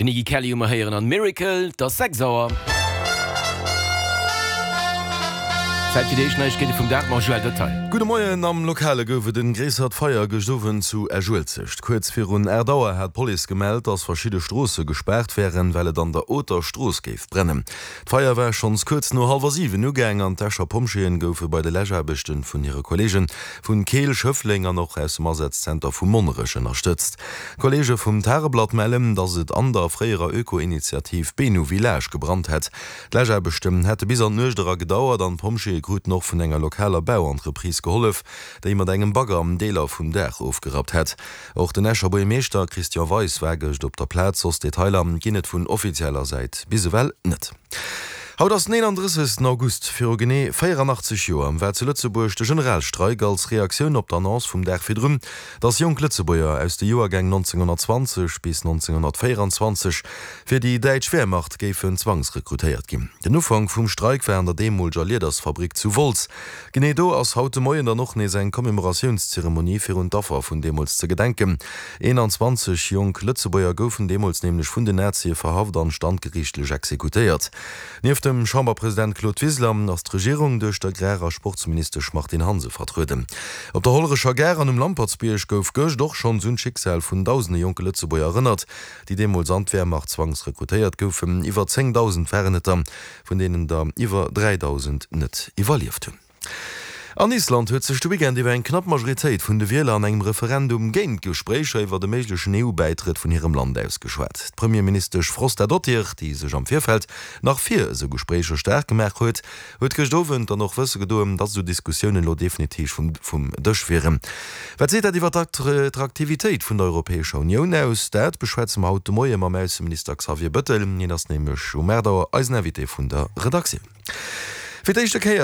Den Iggy Kelly hu mer héieren an Miracle. Et ass 6 Auer. Zäit fir déi éischt Neiegkeete vum Dag mam Joël Detail. Gudde Moien, Am Lokale gouf et en gréissert Feier gëscht Owend zu Esch-Uelzecht. Kuerz virun 8 Auer hat d'Police gemellt, dass verschidde Stroosse gespaart wären, well et an der Oter Strooss géif brennen. D'Feier war schonns kuerz no hallwer 7 ugaang an d'Escher Pompjeeën goufe bei de Läschaarbechte vun hire Kolleege vun Keel, Schëffleng an och aus dem Asazenter vu Monnerech ënnerstëtzt. Kolleege vum Tageblatt mellen, datt et an der fréierer Öko-Initiativ Benu Village gebrannt hätt. D'Läschaarbechten hätte bis an d'Nuecht era gedauert an d'Pompjeeë kruten och vun enger lokaler Bauentreprise gehollef, déi mat engem Bagger Deeler vum Daach ofgerappt hätt. Och den Escher Buergermeeschter Christian Weis war gëscht op der Plaz. Soss Detailer ginn et vun offizieller Säit bis ewell net. Haut ass den 31. August. Viru genee 84 Joer war zu Lëtzebuerg de Generalstreik als Reaktioun op d'Annonce vum Dag virdrun, datt jonk Lëtzebuerger aus de Joergäng 1920 bis 1924 fir déi däitsch Wehrmacht géifen zwangsrekrutéiert ginn. Den Ufank vum Streik war an der deemoleger Liedersfabrik zu Wolz. Genee do ass haut de Moien dann och nees eng Commémoratiounszeremonie fir un d'Affer vun deemools ze gedenken. 21 jonk Lëtzebuerger goufen deemools nämlech vun den Nazie verhaft an standgeriichtlech exekutéiert. Nieft dem Chamberpresident Claude Wiseler ass d'Regierung duerch d'Agrar a Sportsministesch Martine Hansen vertrueden. Op der Hollerecher Gare an um Lampertsbierg gouf gëscht och schonns un d'Schicksal vun dausende jonke Lëtzebuerger erënnert, déi deemools an d'Wehrmacht zwangsrekrutéiert goufen. Iwwer 10.000 waren et der. vun deenen der iwwer 3.000 net iwwerlieft hunn. An Island huet sech de Weekend iwwer eng knapp Majoritéit vun de Wieler an engem Referendum géint d'Gespréicher iwwer e méiglechen EU-Bäitrëtt vun hirem Land ausgeschwat. D'Premierministesch Frostadottir, déi sech am Virfeld nach fir esou Gespréicher staark gemaach huet, huet gëscht Owend dann och wësse gedoen, datt esou Diskussiounen elo definitiv vum Dësch wieren. Wat seet dat iwwer d'Attraktivitéit vun der Europäescher Unioun aus? Dat beschwätze mer haut de Moie mam Ausseminister Xavier Bëttel. Hien ass nämlech um 8 Auer eisen Invité vun der Redaktioun. Fir d'éischte Kéier.